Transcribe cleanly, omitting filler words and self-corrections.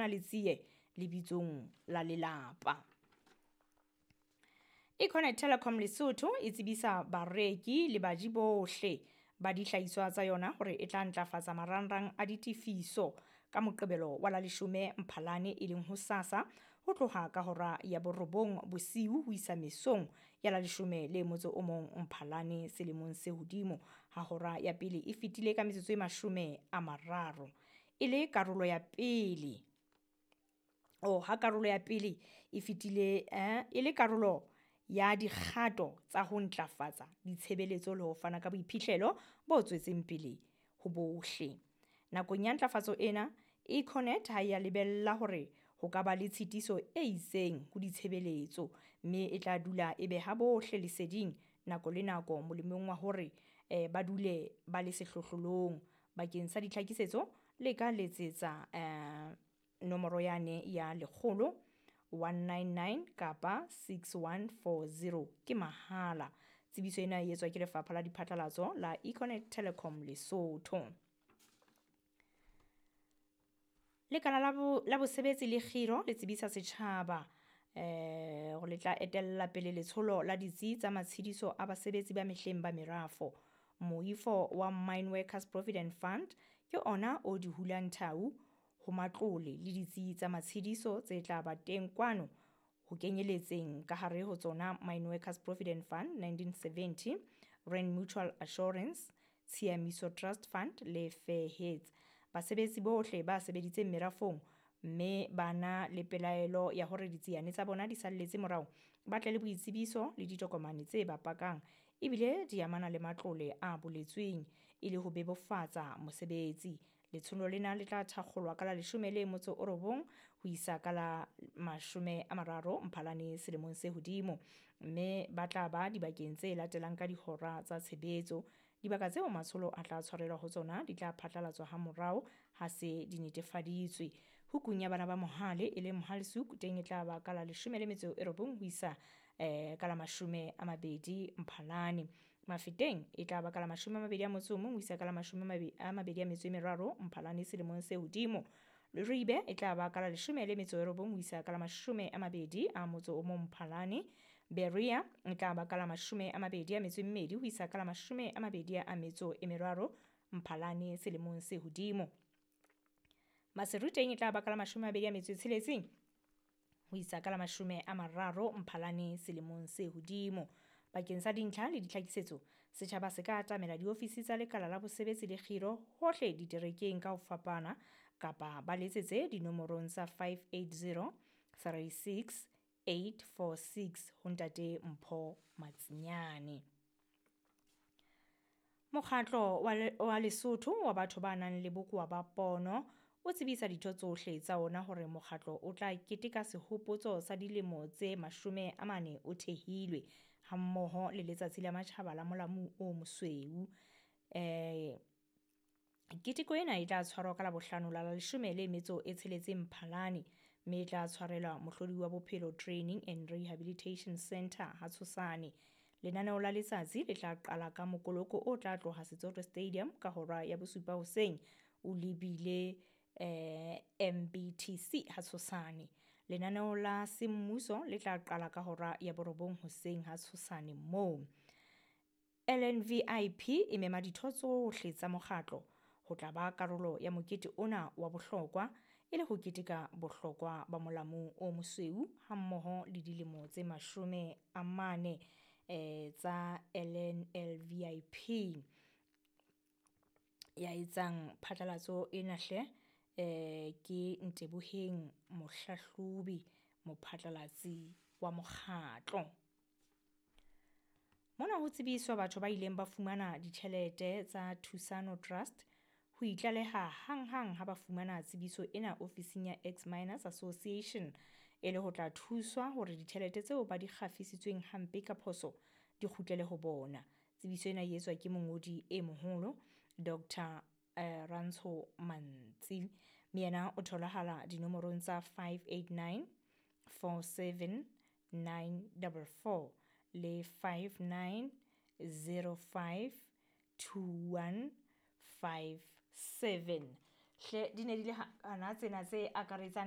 jana le tsie lebitsong la lelapa. Econet Telecom Lesotho e tsebisa bareki le baji bohle ba dihlahiswa tsa yona hore e tla ntlafatsa marangrang a ditefiso ka Moqebelo wa la 10 Mphalane e leng hosasa ho tloha ka hora ya 9 bosiu ho isa mesong ya la 11 Mphalane selemong se hodimo ha hora ya pele e fetile ka metsotso e 30 e le karolo ya pele ha karolo ya pele e fetile e le karolo ya dikgato tsa ho ntlafatsa ditshebeletso le ho fana ka boiphihlelo bo tswetseng pele ho bohle. Nakong ya ntlafatso ena, Econet ha ya lebella hore ho ka ba le tshitiso e itseng ho ditshebeletso, mme e tla dula e beha bohle leseding nako le nako molemong wa hore ba dule ba le sehlohlolong. Bakeng sa ditlhakisetso le ka letsetsa nomoro yane ya 100 199 kapa 6140 ke mahala. Tsebiso ena e etswa ke lefapha la diphatlalatso la Econet Telecom Lesotho. Lekala la bosebetsi le kgiro le tsebisa setjhaba hore le tla etella pele letsholo la ditsi tsa matshediso a basebetsi ba mehleng ba merafo. Moifo wa Mine Workers Provident Fund ke ona o di hulang thau ho matlole le ditsi tsa matshediso tse tla ba teng kwano ho kenyeletseng ka hare ho tsona Mine Workers Provident Fund 1970, Rand Mutual Assurance, Tshiamiso Trust Fund le Fair Heads. Basebetsi bohle ba sebeditseng merafong mme ba na le pelaelo ya hore ditsiane tsa bona di salletse morao, ba tle le boitsebiso le ditokomane tse ba pakang ebile di amana le matlole a boletsweng e le ho bebofatsa mosebetsi. Letsholo lena le tla thakgolwa ka la 19 ho isa ka la 30 Mphalane selemong se hodimo, mme ba tla ba dibakeng tse latelang ka dihora tsa tshebetso. Dibaka tseo matsholo a tla tshwarelwa ho tsona di tla phatlalatswa ha morao ha se di netefaditswe. Hukung ya bana ba Mohale e leng Mohale'shoek teng e tla ba ka la 19 ho isa ka la 20 Mphalane. Mafeteng e tla ba ka la 21 ho isa ka la 23 Mphalane selemong se hodimo. Leribe e tla ba ka la 19 ho isa ka la 21 Mphalane. Berea e tla ba ka la 22 ho isa ka la 23 Mphalane selemong se hodimo. Maseru teng e tla ba ka la 26 ho isa ka la 30 Mphalane selemong se hodimo. Bakeng sa dintlha le ditlhakisetso, setjhaba se ka atamela diofisi tsa lekala la bosebetsi le kgiro hohle diterekeng ka ho fapana kapa ba letsetse dinomorong tsa 580 36 846 ho ntate Mpho Matsinyane. Mokgatlo wa Lesotho wa batho ba nang le bokowa ba pono o tsebisa ditho tsohle tsa ona hore mokgatlo o tla keteka sehopotso sa dilemo tse 40 o thehilwe hammoho le letsatsi la matjhaba la molamu o mosweu. Keteko ena e tla tshwarwa ka Labohlano la 16 Mphalane, mme e tla tshwarelwa Mohlodi wa Bophelo Training and Rehabilitation Center ha Tshosane. Lenaneo la letsatsi le tla qala ka mokoloko o tla tloha Setsoto Stadium ka hora ya 7 hoseng o lebile MBTC ha Tshosane. Lenaneo la semmuso le tla qala ka hora ya 9 hoseng ha Tshosane moo. LNVIP e mema ditho tsohle tsa mokgatlo ho tla ba karolo ya mokete ona wa bohlokwa e le ho keteka bohlokwa ba molamu o mosweu hammoho le dilemo tse 40 tsa LNLVIP. Ya etsang phatlalatso ena hle ke Nteboheng Mohlahlobi, mophatlalatsi wa mokgatlo. Mona ho tsebiswa batho ba ileng ba fumana ditjhelete tsa Thusano Trust ho itlaleha hanghang ha ba fumana tsebiso ena ofising ya Ex-Miners Association e le ho tla thuswa hore ditjhelete tseo ba di kgafisitsweng hampe ka phoso di kgutlele ho bona. Tsebiso ena e etswa ke mongodi e moholo Dr. Rantsho Mantsi, mme yena o tholahala dinomorong tsa 589 47 944 le 59 05 21 57. Hle di ne di le hana tsena tse akaretsang.